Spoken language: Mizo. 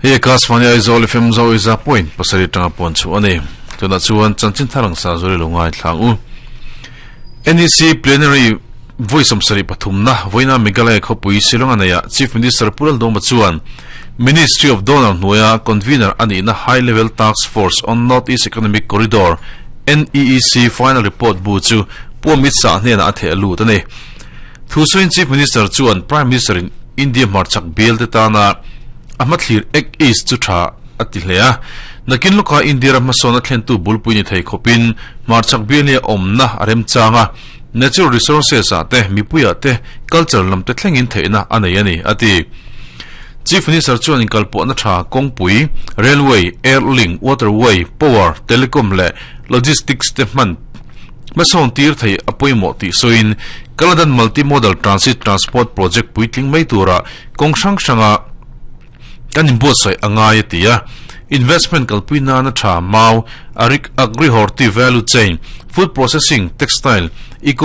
Hei Akashvani Aizawl FM Zawiza point pasarih atanga puan chhuah a ni. Tunah chuan chanchin thar ang sa zuri lo ngai thlang u. NEC Plenary vawi sawmsarih pathumna vawiina Meghalaya khawpui Shillong a neihah Chief Minister Pu Laldawma chuan Ministry of Donor hnuaia Convener a nihna High Level Task Force on North East Economic Corridor, NEEC, final report bu chu Pu Amit Shah hnenah a theh lut a ni. Thu sawiin Chief Minister chuan Prime Minister in India hmarchhak bial te tana a hmathlir Act East chu tha a ti hle a. Nakin lawka India ram hmasawn a thlentu bulpui ni thei khawpin hmarchhak bial hi a awmna a remchang a, natural resources ah te, mipui ah te, culture lam te thlengin theihna a nei a ni, a ti. Chief Minister chuan inkalpawhna tha kawngpui, railway, air link, waterway, power, telecom leh logistics te hman hmasawn tir thei a pawimawh tih sawiin Kaladan Multi-Modal Transit Transport Project puitling mai tura kawng hrang hranga kan inbuatsaih a ngai a ti a. Investment kalpui nana tha mau, agri-horti value chain, food processing, textile, eco.